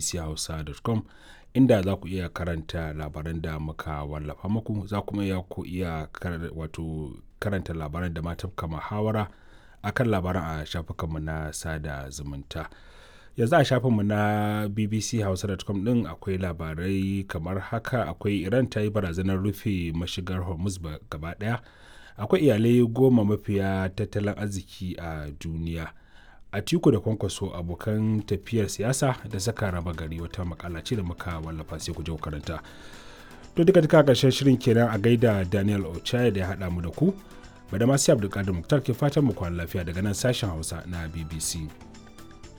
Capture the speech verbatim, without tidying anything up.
bbchausa dot com, inda za ku iya karanta labaran da muka wallafa muku. Za kuma iya ku iya wato karanta labaran da ma tafka muhawara akan labaran a shafukanmu na sada zumunta. Yanzu a shafinmu na bbchausa dot com din akwai labarai kamar haka: akwai Iran ta yi barazanar rufe mashigar Hormuz gaba daya, akwai iyalai goma mafiya tattalin arziki a duniya, Atiku da Kwankwaso abokan tafiyar siyasa da saka raba gari, wata makala ce da muka wallafa, sai ku je ku karanta. To, duka duka karshen shirin kenan. A gaida Daniel Ochaya da ya haɗa mu da ku. Bada masu Abdulkadir Muktar ke fatan mu kwana lafiya daga nan sashen Hausa na B B C.